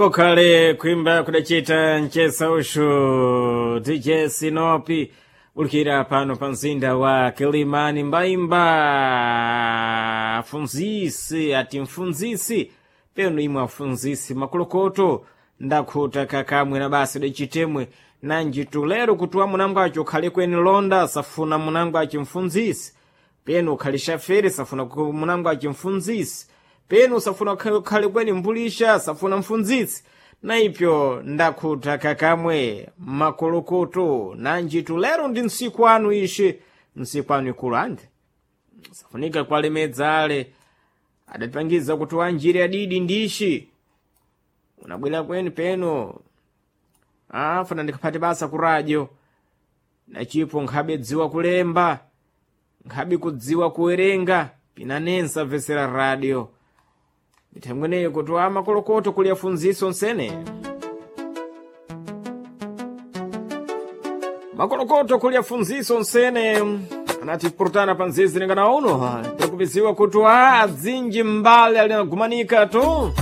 Kokhale kuimba kudachita mchesa ushu DJ Sinopi ulikira pano pa mzinda wa Kilimani mbaimba afunzisi ati mfunzisi peno imwe afunzisi makolokoto ndakhuta kakamwe na basi dachitemwe nanji tulero kutuwa munango acho ukhale kweni londa safuna munango acho mfunzisi peno ukhale shafere safuna munango acho mfunzisi peno usafuna ukhale kweni mbulisha safuna mfunzisi na ipyo ndakhuta kakamwe makolokoto nanji tulero ndi nsiku anu ishi nsiku anu ikulu andi safunika kwalemedza ale adapangiza kuti wanjiri adidi ndishi unabwera kweni peno afuna ndikaphate basa ku radio nachipo nkhabe dziwa kulemba nkhabe kudziwa kuwerenga pinanensa mvesera radio mithangweneyo kuti wa makolokoto kuli afunziso nsene makolokoto kuli afunziso nsene anati purutana pa nzizi lingana uno tikupiziwa kuti wa adzinji mbale alinagumanika tu.